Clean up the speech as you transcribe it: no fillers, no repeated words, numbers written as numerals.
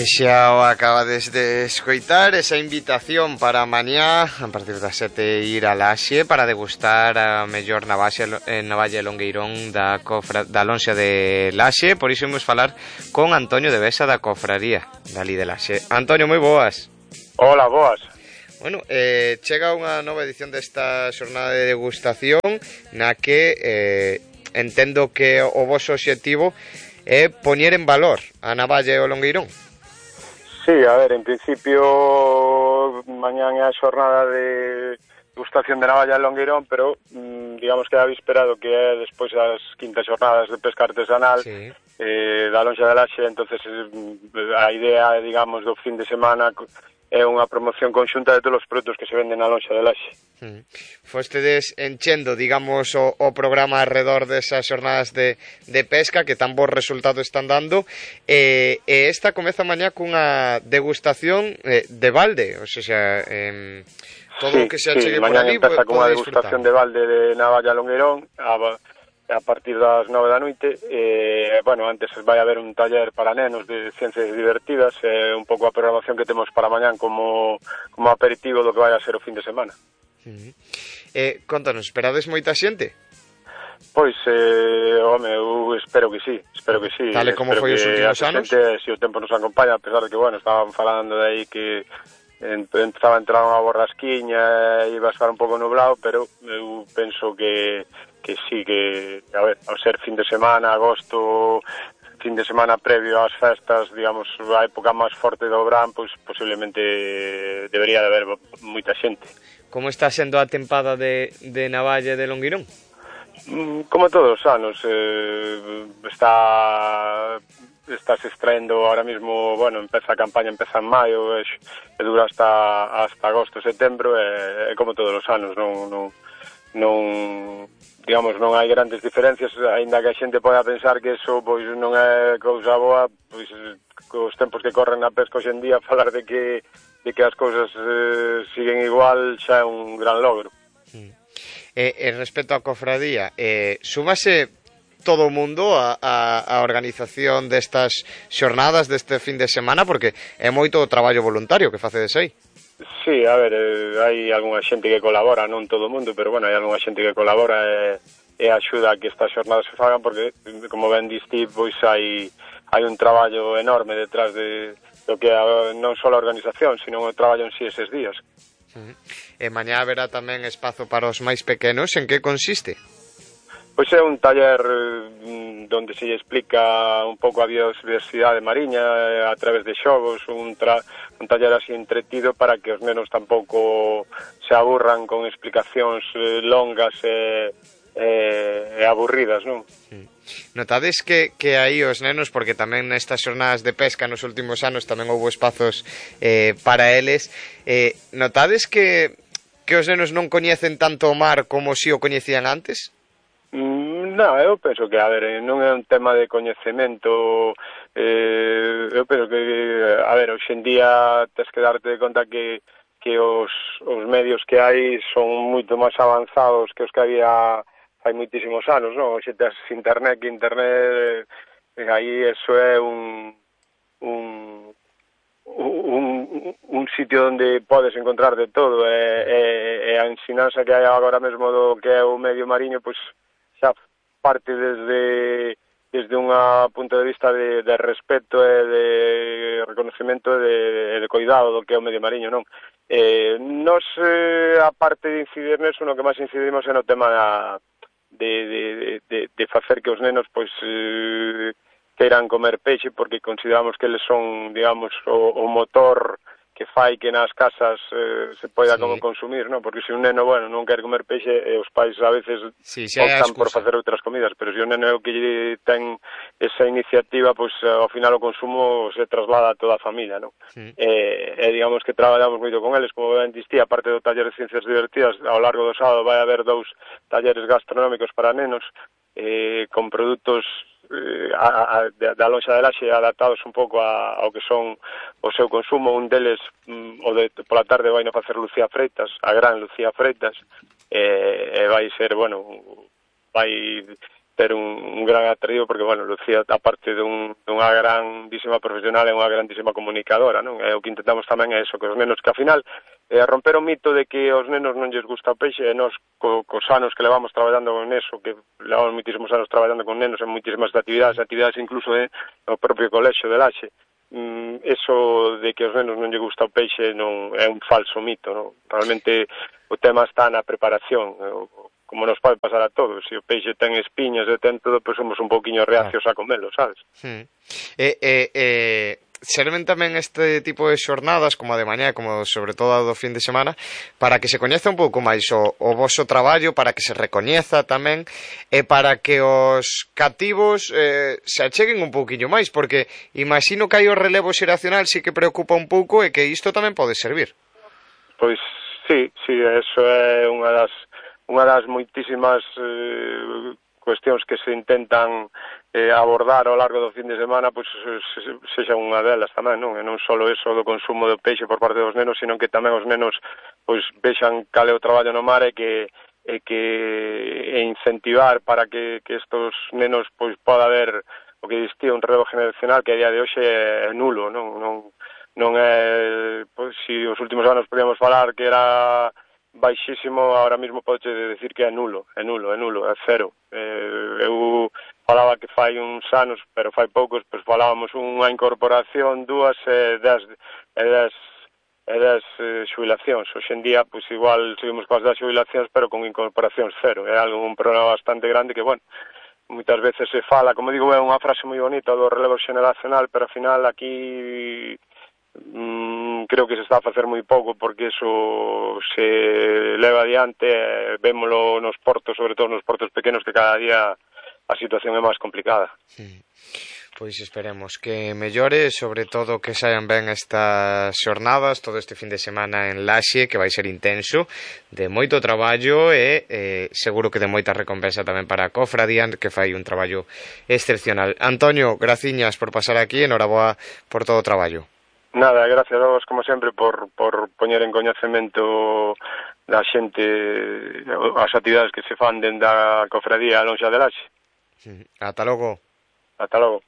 Xa o acabades de escoitar esa invitación para mañá a partir das 7 ir a Laxe para degustar a mellor navalla longueirón da lonxa de Laxe. Por iso imos falar con Antonio de Besa da Cofraría dali de Laxe. Antonio, moi boas. Hola, boas. Bueno, chega unha nova edición desta xornada de degustación na que entendo que o voso obxectivo é poñer en valor a navalla e o longueirón. Sí, a ver, en principio mañán é a xornada de degustación de navalla e longueirón, pero digamos que a víspera do que é despois das quintas xornadas de pesca artesanal, sí, da lonxa de Laxe. Entonces a idea, digamos, do fin de semana é unha promoción conxunta de todos os produtos que se venden na lonxa de Laxe. Fostedes enchendo, digamos, o programa alrededor desas xornadas de pesca que tan bons resultados están dando, e esta comeza mañá cunha degustación de balde, ou seja, todo o que se achegue por ali empeza cunha degustación de balde de navalla longueirón a partir das 9 da noite. Bueno, antes vai haber un taller para nenos de ciencias divertidas, un pouco a programación que temos para mañán como aperitivo do que vai a ser o fin de semana. Contanos, esperades moita xente? Pois, home, eu espero que sí. Tal como foi os últimos anos? Se o tempo nos acompaña, a pesar de que, bueno, estaban falando de aí que empezaba a entrar unha borrasquiña e iba a estar un pouco nublado, pero eu penso que sí, que, a ver, ao ser fin de semana, agosto, fin de semana previo ás festas, digamos, a época máis forte do verán, pois posiblemente debería de haber moita xente. Como está sendo a tempada de navalla de longueirón? Como todos os anos, está se extraendo ahora mismo, bueno, a campaña empeza en maio e dura hasta agosto, setembro, e como todos os anos, non digamos, non hai grandes diferencias, aínda que a xente poda pensar que eso pois non é cousa boa, pois cos tempos que corren na pesca hoxe en día, falar de que as cousas siguen igual xa é un gran logro. Respecto á cofradía, súmase todo o mundo a organización destas xornadas deste fin de semana, porque é moito o traballo voluntario que facedes aí. Sí, a ver, hai algunha xente que colabora, non todo o mundo, pero bueno, hai algunha xente que colabora e axuda a que estas xornadas se fagan, porque, como ben diste, pois hai un traballo enorme detrás de do que non só a organización, sino o traballo en sí eses días. E mañá haberá tamén espazo para os máis pequenos. En que consiste? Pois é un taller donde se explica un pouco a biodiversidade mariña a través de xogos, un taller así entretido para que os nenos tampouco se aburran con explicacións longas e aburridas, non? Notades que aí os nenos, porque tamén nestas xornadas de pesca nos últimos anos tamén houve espazos para eles, notades que os nenos non coñecen tanto o mar como si o coñecían antes? Non, eu penso que, a ver, non é un tema de coñecemento, eu penso que, a ver, hoxe en día tes que darte conta que os medios que hai son moito máis avanzados que os que había hai moitísimos anos, non? Hoxe tes internet, aí eso é un sitio onde podes encontrar de todo, e a ensinanza que hai agora mesmo do que é o medio mariño, pois xa parte desde un punto de vista de respeto e de reconocimiento e de cuidado do que é o medio mariño, non? Nos, a parte de incidir neso, no que máis incidimos é no tema de facer que os nenos pois queiran comer peixe, porque consideramos que eles son, digamos, o motor que fai que nas casas se poida como consumir, non? Porque se un neno, bueno, non quer comer peixe, os pais a veces optan por facer outras comidas, pero se un neno que ten esa iniciativa, pois ao final o consumo se traslada a toda a familia, non? E digamos que traballamos moito con eles, como ben distía, aparte do taller de ciencias divertidas, ao largo do sábado vai haber 2 talleres gastronómicos para nenos, con produtos da lonxa de Laxe adaptados un pouco ao que son o seu consumo. Un deles pola tarde vai a facer Lucía Freitas, a gran Lucía Freitas, e vai ser, bueno, vai ter un gran atractivo, porque, bueno, Lucía, aparte dunha grandísima profesional, é unha grandísima comunicadora, non? E o que intentamos tamén é eso, que os nenos, que ao final, romper o mito de que aos nenos non lles gusta o peixe, e nós, cos anos que levamos traballando con eso, que levamos moitísimos anos traballando con nenos en moitísimas actividades incluso no propio colexio de Laxe, eso de que aos nenos non lle gusta o peixe non é un falso mito, non? Realmente o tema está na preparación, como nos pode pasar a todos. Se o peixe ten espiñas e ten todo, pois somos un pouquiño reacios a comelo, sabes? Serven tamén este tipo de xornadas, como a de mañá, como sobre todo a do fin de semana, para que se coñeza un pouco máis o voso traballo, para que se recoñeza tamén, e para que os cativos se acheguen un pouquiño máis, porque imagino que hai o relevo xeracional sí que preocupa un pouco e que isto tamén pode servir. Pois sí, eso é unha das moitísimas cuestións que se intentan abordar ao largo do fin de semana, pois sexa unha delas tamén, non? E non só eso do consumo do peixe por parte dos nenos, sino que tamén os nenos pois vexan cal é o traballo no mar e incentivar para que estos nenos pois poda haber o que existía un relevo generacional que a día de hoxe é nulo, non é, pois, se os últimos anos podíamos falar que era baixísimo, ahora mismo podes decir que é nulo, é cero. Eu falaba que fai uns anos, pero fai poucos, pois falábamos unha incorporación, 2 e 10 xubilacións. Hoxe en día, pois igual seguimos coas das xubilacións, pero con incorporacións cero. É un problema bastante grande que, bueno, moitas veces se fala, como digo, é unha frase moi bonita do relevo xeneracional, pero ao final aquí creo que se está a facer moi pouco, porque eso se leva adiante, vémolo nos portos, sobre todo nos portos pequenos, que cada día a situación é máis complicada. Pois esperemos que mellore, sobre todo que saian ben estas xornadas, todo este fin de semana en Laxe, que vai ser intenso, de moito traballo e seguro que de moita recompensa tamén para a cofradía, que fai un traballo excepcional. Antonio, graciñas por pasar aquí, enhoraboa por todo o traballo. Nada, gracias a vos, como sempre, por poñer en coñecemento da xente as actividades que se fan dentro da cofradía Lonxa de Laxe. Ata logo. Ata logo.